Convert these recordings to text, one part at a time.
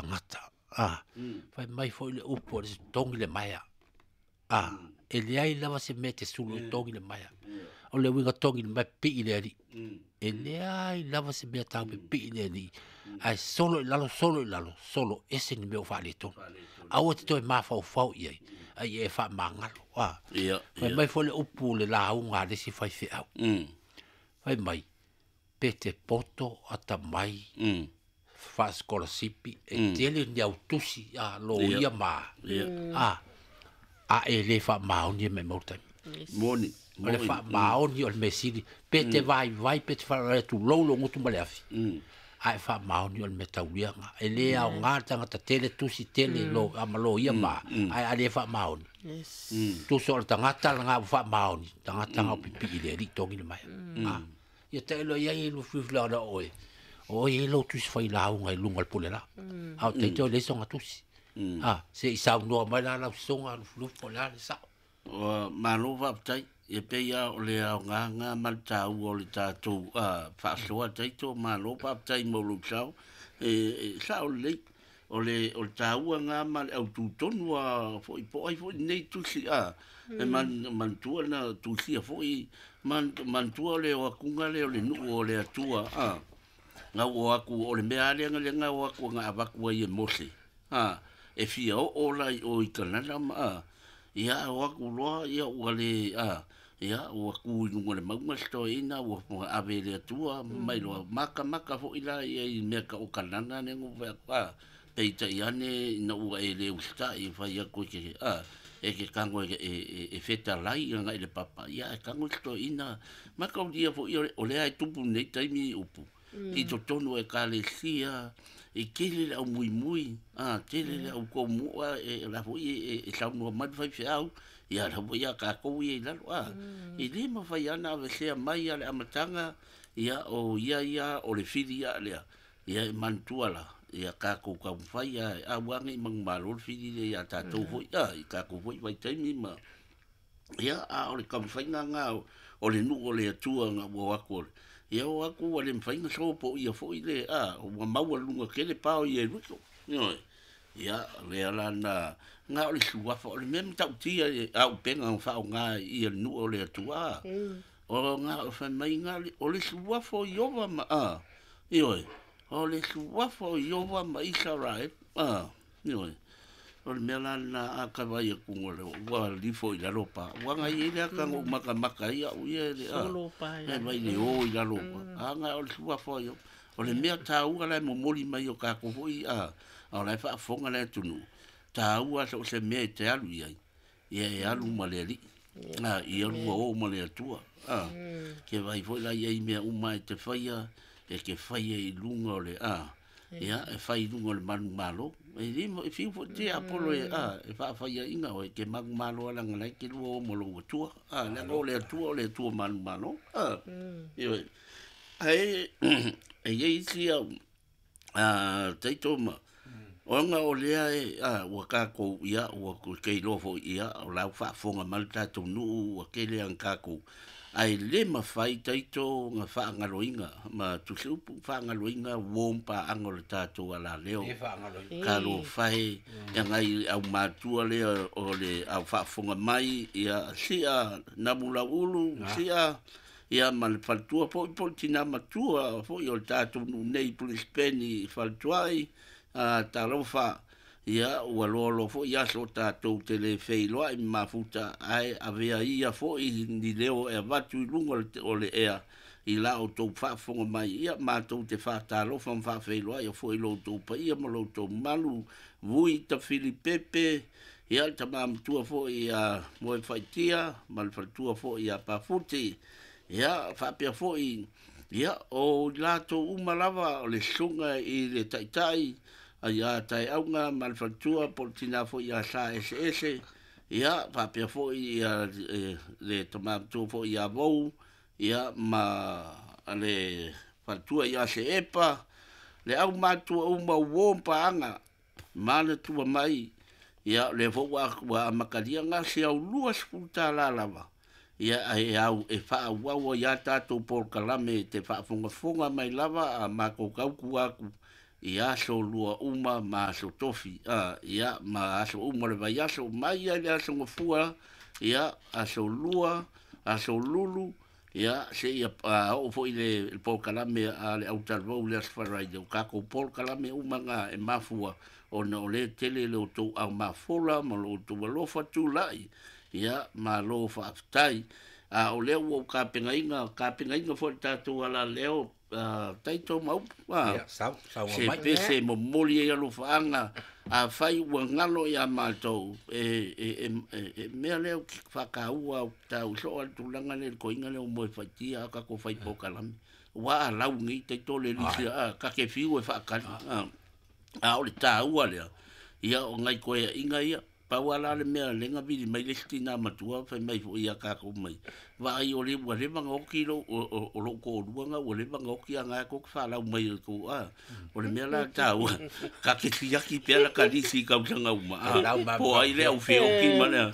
tagata. A, fai mai foi le upu o le togi le maea. A, e leai lava se mea e te sulu e togi le maea. O le uiga togi le maea pipii i le Alii. E leai lava se mea tatou pipii i le Alii, ae solo i lalo, solo i lalo, solo ese ni mea ua faaletonu. Aua e te toe mafaufau i ai, a ia e faamagalo. A, fai mai foi le upu le lauga a le isi faifeau. Fai mai, pe te poto atamai, faasikolasipi, e tele ni au tusi a loia ma a, a e le faamaoni e maimau le taimi. Moni. O le faamaoni o le mea sili, pe te vaivai, pe te faalavelave, tulou lou gutu ma le afi, a e faamaoni o le mea tauliaga. E le aoga le tagata tele tusi tele lo, a ma loia ma, ae a le faamaoni. Tusa o le tagata lena ua faamaoni, tagata na o pipii i le Alii togi le maea. A, ia tailo i ai e lufilufi lea o oe, o oe e lou tusi failauga i luga o le pule la. A o taito e leai soga tusi. A, se i saunoa mai la lau soga lufilufi po o le a le sao. Ua malo faafetai, e pei lava o le aoga ma le taua o le tatou faasoa taito, malo faafetai mo lou sao, e sao lelei. O le taua lena ma le autu tonu lava foi po o ai foi lenei tusi a, e manatua na tusia foi, manatua le o atuga lea o le nuu o le Atua a, na o atu o le mea lava lea na lea na o atu na avatu ai e Mose a, e fia oo la i o i Kanana ma a, ia o atu loa ia ua le a, ia ua tu i luga o le mauga se toeaina ua ave e le Atua mai loa matamata foi la ia i mea tau o Kanana lea na ou fai atu a, peitai ane ina ua e le usitai e fai atu e ke a, e ke tago e fetalai agai i le papa, ia ae tago se toeaina mataulia foi o lea e tupu nei taimi upu i totonu o ekalesia, e tele le aumuimui, a, tele le automua, e la foi e saunoa mai le faifeau, ia la foi ia tatou ia i lalo, a, e le mafai lava ona avesea mai lava le amataga, ia o ia ia o le fili ia lea, ia e manatua la, ia tatou taumafai lava e aua ne i manumalo le fili lea ia tatou foi, a, i tatou foi vaitaimi ma, ia, a o le taumafaiga lena o le nuu o le Atua na ua o atu o le, ia o atu ua le mafai ona sopoia foi le, a, ua maualuga tele pao i Ieriko, ioe. Ia, lea la na, na o le suafa, o le mea matautia i auupega na faaaoga i le nuu o le Atua, a, o na o fai mai na, o le suafa o Ieova ma, a, ioe, o le suafa o Ieova ma Isaraelu, a, ioe. O le mea la lena a ka vaai atu ua lifo i lalo pa. Ua na i ai le ata na ou matamata ai au ia le a. Solo pa ia. E vai le o i lalo pa. A na o le suafa o Ieova. O le mea taua la e momoli mai o tatou foi a, o la e faafofoga le atunuu, taua so o se mea e te alu i ai, ia e alu ma le Alii. A, ia lua o ma le Atua. A, ke vaai foi la i ai mea uma e te faia, e te faia i luga o le a, ia e fai i luga o le manumalo. E le e fiu foi te Apolo e a, e faafaiaina oe ke manumalo ala na lai ke lua o ma lou Atua. A, leaga o le Atua o le Atua manumalo. A, ioe. Ae e i ai isi au a taito ma ona o lea e a, ua tatou ia ua ke iloa foi ia o la ua faafofoga mai le tatou nuu ua tele ana tatou ae le mafai taito na faagaloina ma tusiupu faagaloina uo ma paaga o le tatou alaleo. Le faagaloina. Talofa e e agai au matua lea o le au faafofoga mai ia sia Namulauulu sia ia ma le faletua foi po o le tina matua foi o le tatou nuu nei i Brisbane i Faletuai, a, talofa, ia ua loaloa foi aso o tatou te le feiloai ma mafuta, ae avea ia foi ni leo e avatu i luga o le ea i la outou faafofoga mai, ia matou te faatalofa ma faafeiloai foi i lo outou paia ma lo outou mamalu, Vui Tafilipepe, ia le tama matua foi ia Moefaitia ma le faletua foi ia Pafuti, ia faapea foi ia o i latou uma lava o le susuga i le taitai ia Taeauga ma le faletua po o le tina foi ia Sa Eseese, ia faapea foi ia le tama matua foi ia Vou, ia ma le faletua ia Seepa, le aumatua uma uo ma paaga manatua mai, ia o lea foi ua amatalia na se au $20 lava, ia e au e faaauau ai a tatou polokalame te faafogafoga mai lava a matou tautua atu. i aso lua uma ma aso tofi, ia, ma aso uma o le vaiaso, mai lava i le aso Gafua, ia, aso lua, aso lulu, ia, seia oo foi i le polokalame a le autalavou i le aso Faraile. O tatou polokalame uma na e mafua ona o lea e tele le outou aumafola ma lo outou alofa tulai, ia, malo faafetai. A o lea ua ou tapenaina, tapenaina foi le tatou alaleo, taito ma upu, se pese e momoli ai alofaaga, afai ua galo ia matou, e mea lea ou te faataua au tau soo le tulaga lea i le toeaina lea o moe faitia a tatou fai polokalame. Ua alau nei taito le lisi a ta te fiu e faatali. A o le taua lea, ia o nai toeaiga ia, pau lava la le mea lea na vili mai le isi tina matua fai mai foi ia tatou mai, vaai o le ua leva ona oti lou, o lou toalua na ua leva ona oti a na e tou te falau mai e tou, o le mea la taua, ka te siaki pea la ka lisi i tausaga uma, po o ai le au feoti ma le,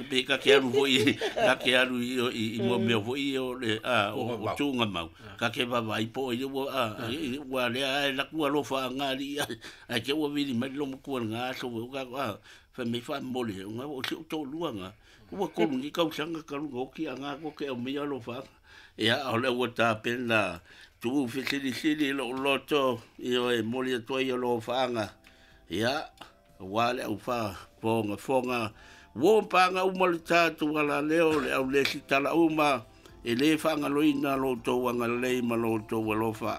pe ka te alu foi, ka te alu i mua mea foi o le, o tuugamau, ka te vaavaai po o ai ua, ua lea e laku alofa a ngā alii, ai te ua vili mai le lomatua i lena aso, ua fai mai faamomoli e ona o si ou toalua na ua tolu nei tausaga talu ona oti a na tou te aumaia alofaaga. Ia, o lea ua tapena tuu fesilisili i lou loto, ioe, momoli atu ai alofaaga, ia, aua le aufaafogafoga ua paga uma le tatou alaleo, le aulesitala uma, e lē faagaloina lo outou agalelei ma lo outou alofa.